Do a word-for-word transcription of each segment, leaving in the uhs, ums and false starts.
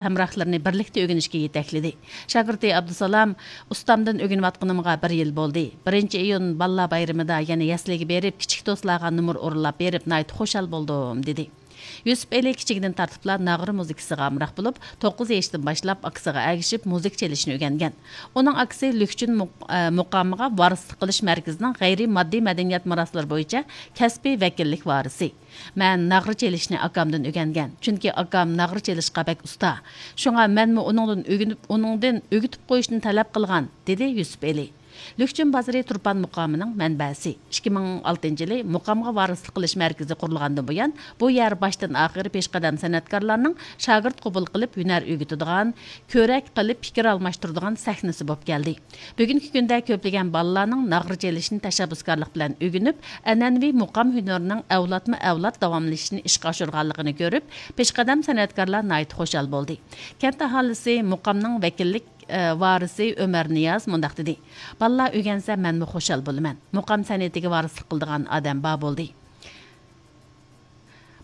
ھەمراھلىرىنى بىرلىكتە ئۆگىنىشكە يېتەكلىدى. شاگىرتى ئابدۇسالام، ئۇستامدىن ئۆگىنىۋاتقىنىمغا بىر يىل بولدى. بىرىنچى ئىيۇن بالىلار بايرىمىدا يەنە يەسلىگە بېرىپ، كىچىك دوستلارغا نومۇر ئورۇنلاپ بېرىپ، ناھايىتى خۇشال بولدۇم، دېدى. يۈسۈپ ئېلى كىچىكىدىن تارتىپلا ناغرا مۇزىكىسىغا ئامراق بولۇپ، توققۇز يېشىدىن باشلاپ ئاكىسىغا ئەگىشىپ مۇزىكا چېلىشنى ئۆگەنگەن. ئۇنىڭ ئاكىسى لۈكچۈن مۇق-، ئە، مۇقامىغا ۋارىسلىق قىلىش مەركىزىنىڭ غەيرىي ماددىي مەدەنىيەت مىراسلىرى بويىچە كەسپىي ۋەكىللىك ۋارىسى. مەن ناغرا چېلىشنى ئاكامدىن ئۆگەنگەن، چۈنكى ئاكام ناغرا چېلىشقا بەك ئۇستا. شۇڭا مەنمۇ ئۇنىڭدىن ئۆگىنىپ، ئۇنىڭدىن ئۆگىتىپ قويۇشنى تەلەپ قىلغان، دېدى يۈسۈپ ئېلى. لۈكچۈن بازىرى تۇرپان مۇقامىنىڭ مەنبەسى. ئىككى مىڭ ئالتىنچى يىلى مۇقامغا ۋارىسلىق قىلىش مەركىزى قۇرۇلغاندىن بۇيان، بۇ يەر باشتىن ئاخىر پېشقەدەم سەنئەتكارلارنىڭ شاگىرت قوبۇل قىلىپ، ھۈنەر ئۆگىتىدىغان، كۆرەك قىلىپ پىكىر ئالماشتۇرىدىغان سەھنىسى بولۇپ كەلدى. بۈگۈنكى كۈندە كۆپلىگەن بالىلارنىڭ ناغرا چېلىشنى تەشەببۇسكارلىق بىلەن ئۆگىنىپ، ئەنئەنىۋى مۇقام ھۈنىرىنىڭ ئەۋلادمۇ ئەۋلاد داۋاملىشىشىنى ئىشقا ئاشۇرغانلىقىنى كۆرۈپ، پېشقەدەم سەنئەتكارلار ناھايىتى خۇشال بولدى. كەنت ئاھالىسى مۇقامنىڭ ۋەكىللىك، ئە، ۋارىسى ئۆمەر نىياز مۇنداق دېدى: «بالىلار ئۆگەنسە، مەنمۇ خۇشال بولىمەن. مۇقام سەنئىتىگە ۋارىسلىق قىلىدىغان ئادەم بار بولدى.»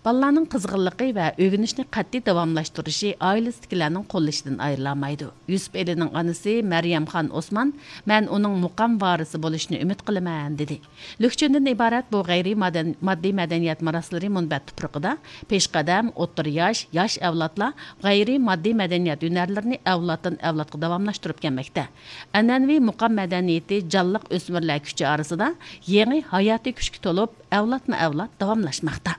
بالىلارنىڭ قىزغىنلىقى ۋە ئۆگىنىشنى قەتئىي داۋاملاشتۇرۇشى ئائىلىسىدىكىلەرنىڭ قوللىشىدىن ئايرىلالمايدۇ. يۈسۈپ ئېلىنىڭ ئانىسى مەريەمخان ئوسمان، «مەن ئۇنىڭ مۇقام ۋارىسى بولۇشىنى ئۈمىد قىلىمەن» دېدى. لۈكچۈندىن ئىبارەت بۇ غەيرىي مادەن-، ماددىي مەدەنىيەت مىراسلىرى مۇنبەت تۇپرىقىدا پېشقەدەم، ئوتتۇرا ياش، ياش ئەۋلادلار غەيرىي ماددىي مەدەنىيەت ھۈنەرلىرىنى ئەۋلادتىن ئەۋلادقا داۋاملاشتۇرۇپ كەلمەكتە. ئەنئەنىۋى مۇقام مەدەنىيىتى جانلىق ئۆسمۈرلەر كۈچى ئارىسىدا يېڭى ھاياتىي كۈچكە تولۇپ، ئەۋلادمۇ ئەۋلاد داۋاملاشماقتا.